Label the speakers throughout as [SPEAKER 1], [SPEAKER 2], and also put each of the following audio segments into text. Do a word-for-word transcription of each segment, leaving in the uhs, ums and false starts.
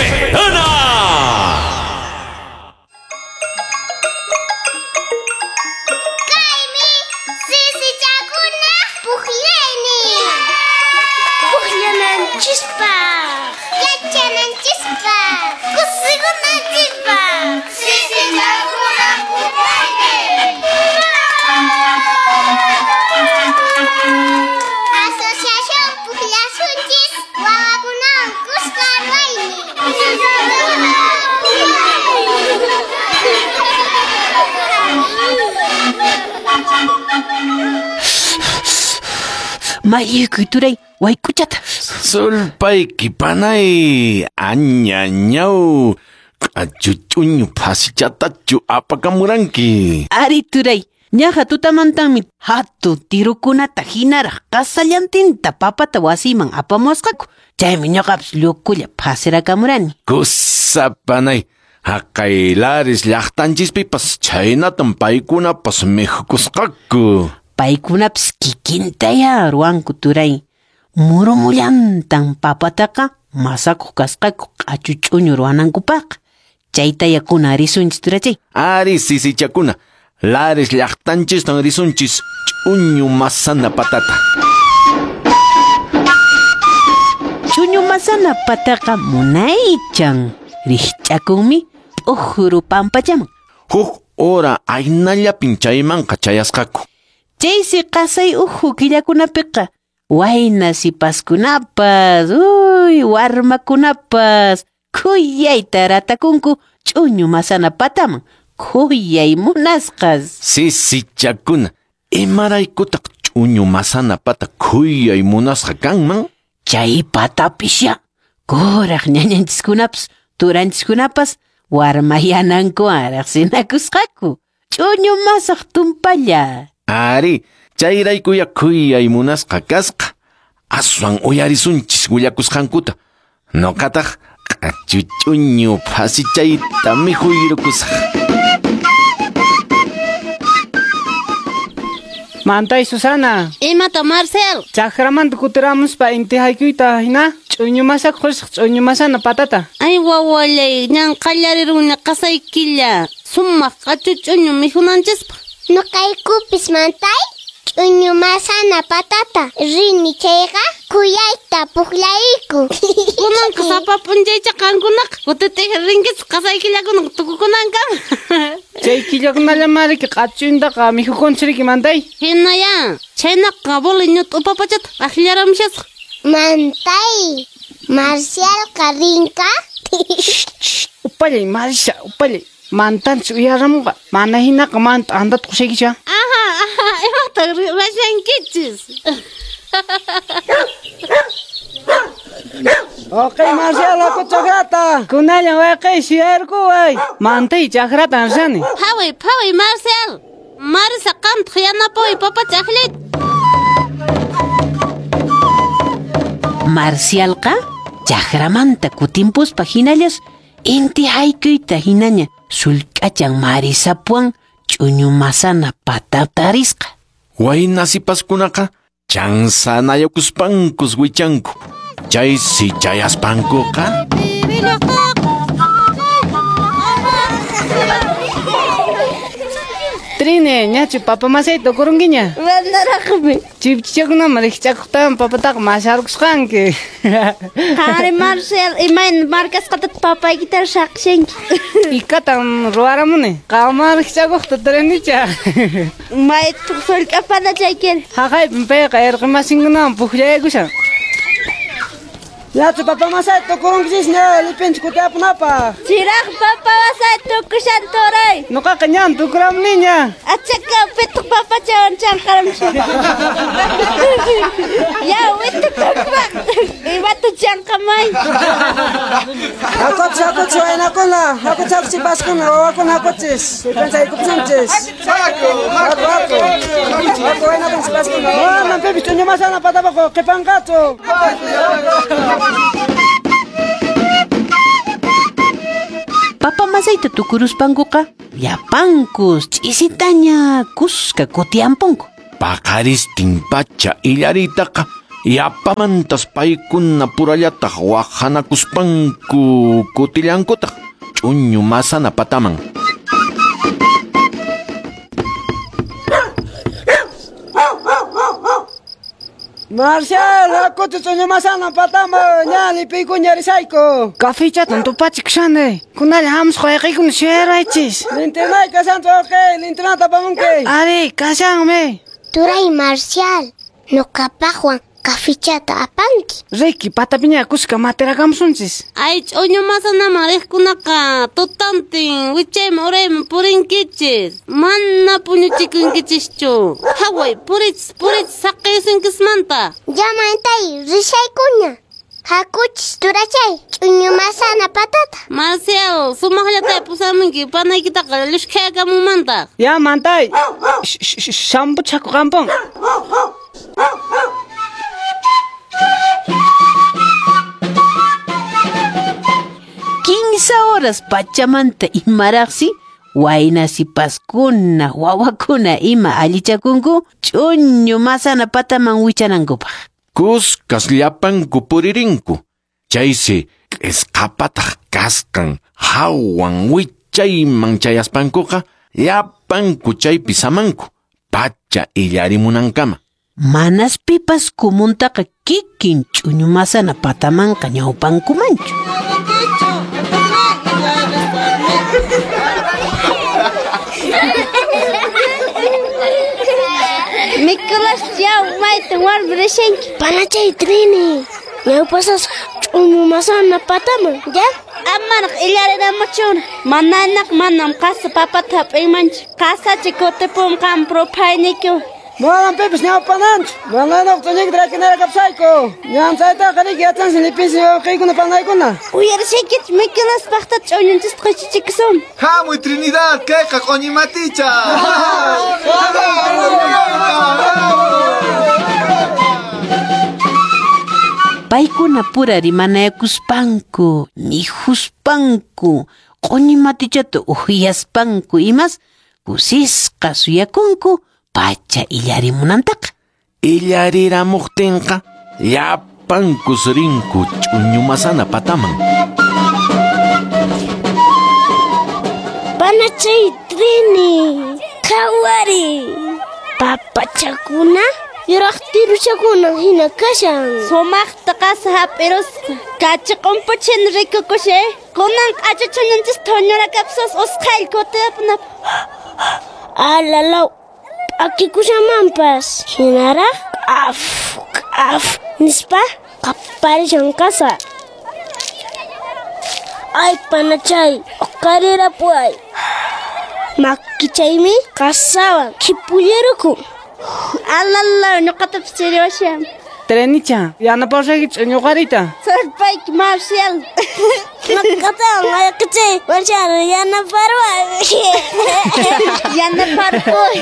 [SPEAKER 1] Soberana!
[SPEAKER 2] Kaymi sisichakuna pukllaynin. Pukllananchispaq, yachananchispaq, kusikunanchispaq. Sisichakuna pukllaynin. Asociación Pukllasunchis wawakunawan kuska ruwaynin.
[SPEAKER 3] Mayukuy turay wayk'uchata.
[SPEAKER 4] Sulpayki panay añañaw q'achu ch'uñu phasichatachu apakamuranki.
[SPEAKER 3] Ari turay, ñaqa tutamantanmi hatun tirukunata hinaraq qasallantinta papata wasiman apamusqaku. Chaymi ñuqapas llukulla phasirakamurani.
[SPEAKER 4] Kusa panay, haqay Lares llaqtanchispipas chhaynatam paykunapas mikhukusqaku.
[SPEAKER 3] Paykunapas kikintaya ruwanku turay. Murumullantan papataqa masakuq kasqaku q'achu ch'uñu ruwanankupaq. Chaytaya kuna risunchis turachay.
[SPEAKER 4] Ari sisichakuna, Lares llaqtanchistan risunchis ch'uñu masana patata.
[SPEAKER 3] Ch'uñu masana pataqa munaychan. Rikch'akunmi p'ujuru pampachaman.
[SPEAKER 4] Huk hora aynallapin chaymanqa chayasqaku.
[SPEAKER 3] Chaysi qasay uhu killakunapiqa wayna sipaskunapas, uy, warmakunapas khuyayta ratakunku ch'uñu masana pataman, khuyay munasqas.
[SPEAKER 4] Sisichakuna, imaraykutaq ch'uñu masana pata khuyay munasqa kanman?
[SPEAKER 3] Chay patapisya, kuraq ñañanchiskunapas, turanchiskunapas warmayanankuwan riqsinakusqaku. Ch'uñu masaq tumpalla.
[SPEAKER 4] Ari, chayraykuya khuyay munasqa kasqa. Aswan uyarisunchis willakusqankuta. Nuqataq q'achu ch'uñu phasichayta mikhuyrukusaq.
[SPEAKER 5] Mantay Susana.
[SPEAKER 6] Imata Marcel.
[SPEAKER 5] Chakramanta kutiramuspa inti haykuyta hina ch'uñu masak qusaq ch'uñu masana patata.
[SPEAKER 6] Ay wawallay, ñan qallariruni qasay killa. Sumaq q'achu ch'uñu mikhunanchispaq.
[SPEAKER 2] Nuqaykupis mantay ch'uñu masana patata rini chayqa khuyayta pukllayku.
[SPEAKER 6] Kunanqa sapa p'unchaycha qankunaqa kutitiq rinkichis qasay killakunaqa tukukunankama.
[SPEAKER 5] Chay killakunallamariki q'achuntaqa mikhukunchiriki mantay.
[SPEAKER 6] Hinaya, chhaynaqa boli ñut'u papachata akllaramushasqa.
[SPEAKER 2] Mantay, Marcialqa rinka.
[SPEAKER 5] Upallay Marisa, upallay. Mantanchis uyaramunqa, mana hinaqa manta andata qushaykicha.
[SPEAKER 6] Aha, aha, imata ruwashankichis.
[SPEAKER 5] Okey, Marcial, haku chakrata. Kunallan wayqay suyarkuway. Mantay chakratan rishani.
[SPEAKER 6] Phaway, phaway, Marcial. Marisa qamtaq yanapaway papacha akllayta.
[SPEAKER 3] Marcialqa chakramanta kutimpuspa hinallas inti haykuyta hinaña sullk'achan Marisapuwan ch'uñu masana patata risqa.
[SPEAKER 4] Wayna sipaskunaqa chansanayukuspankus wichanku. Chaysi chayaspankuqa
[SPEAKER 5] Trine, ñachu papa masayta tukurunkiña.
[SPEAKER 6] Manaraqmi.
[SPEAKER 5] Chipchichakunaman rikch'akuqtawan papataqa masarkusqanki.
[SPEAKER 6] Qari Marcel, imayna markasqataq papaykita saqshanki.
[SPEAKER 5] Ikatan ruwaramuni. Qamman rikch'akuqta trinicha.
[SPEAKER 6] Maytaq sullk'apana chaykiri.
[SPEAKER 5] Haqaypin payqa irqimasinkunawan pukllaykushan. Yachu papa masayta tukurunkichisña lipinchik kutiapunapaq.
[SPEAKER 6] Chiraq papa masayta tukushan turay.
[SPEAKER 5] Nuqaqa ñan tukuramuniña.
[SPEAKER 6] Achaka pitaq papachawan chanqaramushan. Ya witaq tukupaq. Imata chanqamay.
[SPEAKER 7] Hakuchis, hakuchis waynakuna, hakuchis hakuchis sipaskuna, wawakuna hakuchis. Lipinchik aykupusunchis. Haku, haku. Haku waynakuna sipaskuna. Manan pipis ch'uñu masana patapaqa qipanqachu.
[SPEAKER 3] Papa masayta tukuruspankuqa llapankus ch'isitaña kuska kutiampunku.
[SPEAKER 4] Paqaristin pacha illariytaqa Yapamantas paykuna purallataq waqhanakuspanku kutillankutaq ch'uñu masana pataman.
[SPEAKER 7] Marcial, hakuchu ch'uñu masana pataman, ña lipiykuña risayku.
[SPEAKER 5] Kafichatan tupachikushani. Kunalla hamusqa wayqiykuna suyaraychis.
[SPEAKER 7] Lintinay kashanchu wawqiy, lintinata apamunki.
[SPEAKER 5] Ari, kashanmi.
[SPEAKER 2] Turay Marcial, ñuqapaqwan kafichata apanki.
[SPEAKER 5] Riki, patapiña kuska matirakamusunchis.
[SPEAKER 6] Ay, ch'uñu masanaman riqkunaqa tutantin wichayman urayman purinkichis. Mana puñuchikunkichischu. Haway, purichis, purichis saqiyusunkismanta.
[SPEAKER 2] Ya mantay, rishaykuña. Hakuchis turachay, ch'uñu masana patata.
[SPEAKER 6] Marcial, sumaqllata pusamunki, panaykitaqa llushkhayakamunmantaq.
[SPEAKER 5] Ya mantay, sampuchaku qampun.
[SPEAKER 3] Kinsa horas pachamanta imaraqsi wayna sipaskuna wawakuna ima allichakunku ch'uñu masana pataman wichanankupaq.
[SPEAKER 4] Kuskas llapanku puririnku. Chaysi k'isqapataq kasqan hawan wichayman chayaspankuqa llapanku chaypi samanku pacha illarimunankama.
[SPEAKER 3] Manas pipas kumuntaqa kikin ch'uñu masana patamanqa ñawpankumanchu.
[SPEAKER 6] Nicolás, yaw, maytan warmi rishanki.
[SPEAKER 2] Panachay Trini, ñawpasasqa ch'uñu masana pataman, ya?
[SPEAKER 6] Amaraq illarinamuchuna. Mananaq manam qasa papata hap'inmanchu. Qasachi kutipun qam ruphaynikiwan.
[SPEAKER 7] Manam pipis ñawpananchu. Mananaq ch'uñuyta rakinaraqapsayku. Ñam chaytaqa riki yachansi lipinsi wawqiykuna panaykuna.
[SPEAKER 6] Uyarishankichu Nicolás paqta ch'uñunchista qhichichikusun.
[SPEAKER 1] Hamuy Trinidad, kayqa q'uñi maticha.
[SPEAKER 3] Paykuna pura rimanayakuspanku, mikhuspanku, q'uñi matichata uhyaspanku imas kusisqa suyakunku pacha illarimunantaqa.
[SPEAKER 4] Illariramuqtinqa llapankus rinku ch'uñu masana pataman.
[SPEAKER 2] Panachay Trini, qhawari. Papachakuna yuraq tiruchakuna hina kashan.
[SPEAKER 6] Sumaqta qasa hap'irusqa. Kachi q'umpuchina rikukushay. Kunan q'achuchunanchis thuñurakapusas usqhaylla kutipunapaq.
[SPEAKER 2] Alalaw, p'akikushanmanpas. Hinaraq k'af k'af nispa qaparishan kasa. Ay panachay, uqarirapuway. Makichaymi qasawan khipullarukun.
[SPEAKER 6] Alalaw, ñuqatapas chiriwashan.
[SPEAKER 5] Trenicha, yanapawsayki ch'uñuqarita.
[SPEAKER 6] Surpayki Marcial.
[SPEAKER 2] Ñuqatawan wayqichay, Marcial yanaparway.
[SPEAKER 6] Yanaparpuy.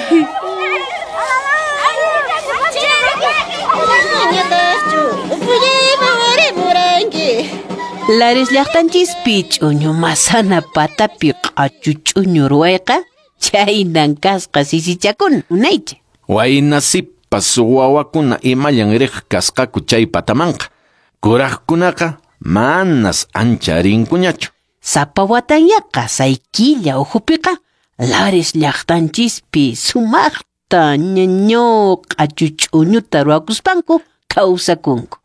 [SPEAKER 3] Lares llaqtanchispi ch'uñu masana patapi q'achu ch'uñu ruwayqa chaynan kasqa sisichakuna unaycha.
[SPEAKER 4] Wayna sipas wawakuna imallan riq kasqaku chay patamanqa. Kuraqkunaqa manas ancha rinkuñachu.
[SPEAKER 3] Sapa watanya qasay killa ukhupiqa Lares llaqtanchispi sumaqta ñaño q'achu ch'uñuta ruwakuspanku kawsakunku.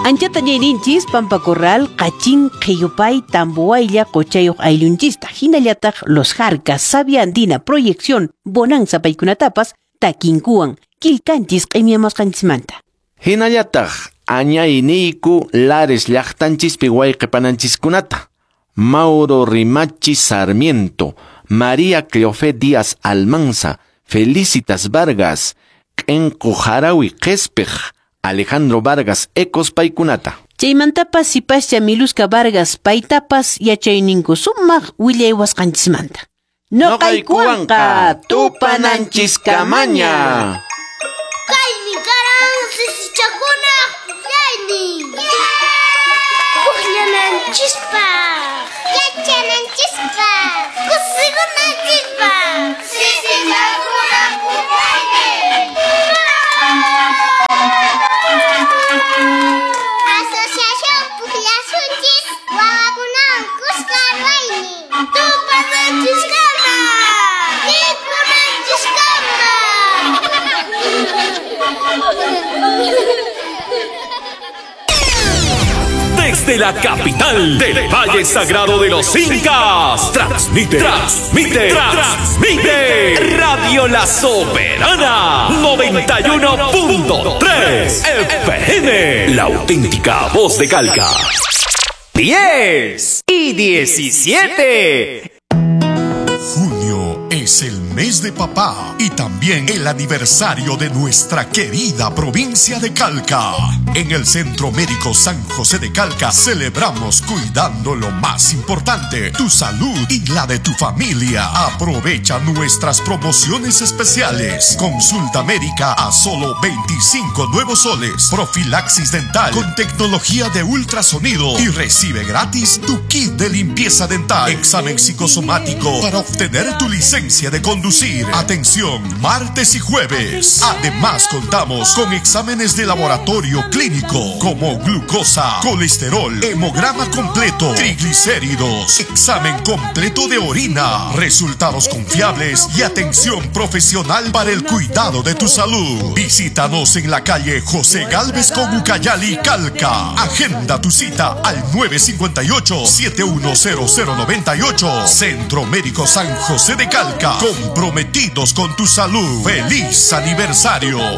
[SPEAKER 3] Anchata ñayninchis Pampa Corral, Qachin, Qhiyupay, Tambuwaylla, Qochayuq ayllunchista, hinallataq Los Jarcas, Sabia Andina, Proyección, Bonanza paykunatapas, takinkuwan, killkanchis q'imiamasqanchismanta.
[SPEAKER 4] Hinallataq añayniyku Lares llaqtanchispi wayqipananchiskunata. Mauro Rimachi Sarmiento, María Cleofé Díaz Almanza, Felicitas Vargas, Q'enqu Harawi Qhispiq, Alejandro Vargas Ecos paykunata.
[SPEAKER 3] Chaymantapas sipascha Miluska Vargas paytapas yachayninku sumaq willaywasqanchismanta. Noqaykuwanqa
[SPEAKER 4] tupananchiskamanya.
[SPEAKER 2] Kaymi karan sisichakunaq pukllaynin. Pukllananchispaq, yachananchispaq, kusikunanchispaq. Sisichakunaq pukllaynin.
[SPEAKER 8] Desde la capital del Valle Sagrado de los Incas. Transmite, transmite, transmite. Radio La Soberana noventa y uno punto tres F M. La auténtica voz de Calca.
[SPEAKER 9] diez y diecisiete.
[SPEAKER 10] Junio es el mes de papá y también el aniversario de nuestra querida provincia de Calca. En el Centro Médico San José de Calca celebramos cuidando lo más importante, tu salud y la de tu familia. Aprovecha nuestras promociones especiales. Consulta médica a solo veinticinco nuevos soles. Profilaxis dental con tecnología de ultrasonido y recibe gratis tu kit de limpieza dental. Examen psicosomático para obtener tu licencia de conducir. Atención, martes y jueves. Además, contamos con exámenes de laboratorio clínico como glucosa, colesterol, hemograma completo, triglicéridos, examen completo de orina, resultados confiables y atención profesional para el cuidado de tu salud. Visítanos en la calle José Gálvez con Ucayali, Calca. Agenda tu cita al nueve cincuenta y ocho, siete uno cero cero noventa y ocho. Centro Médico San José de Calca, comprometidos con tu salud. ¡Feliz aniversario!